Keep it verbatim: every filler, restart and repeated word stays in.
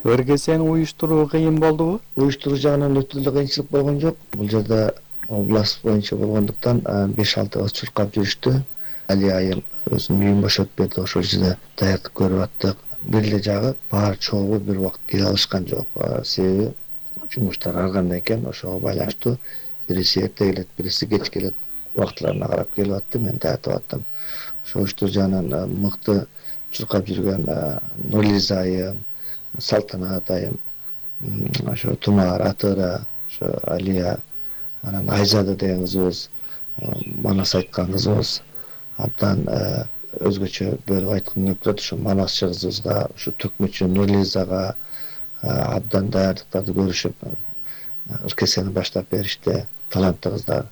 Өргесени уюштуруу кыйын болдубу? Уюштуруу жагынан өтө эле кыйынчылык болгон жок. Бул жерде область боюнча болгондуктан беш алты кыз чуркап жүрүштү. Алия айым өзүнүн үйүн бошотуп берди, ошол жерде даярдык көрүп аттык. Бир эле жагы баары чогуу бир убакыт келе алышкан жок. Себеби жумуштар ар кандай экен, ошого байланыштуу бириси эрте келет, бириси кеч келет. Убактыларына карап келип атты, мен тартып аттым. Ошол уюштуруу жагынан мыкты чуркап жүргөн Нурилиза айым, Салтанат айым, ошо Тумар, Атыра, ошо Алия, анан Айзада деген кызыбыз, Манас айткан кызыбыз абдан өзгөчө бөлүп айткым келип турат. Ошо Манасчы кызыбызга, ошо Төкмөчү Нурилизага абдан даярдыктарды көрүшүп, ыркесени баштап беришти. Таланттуу кыздар.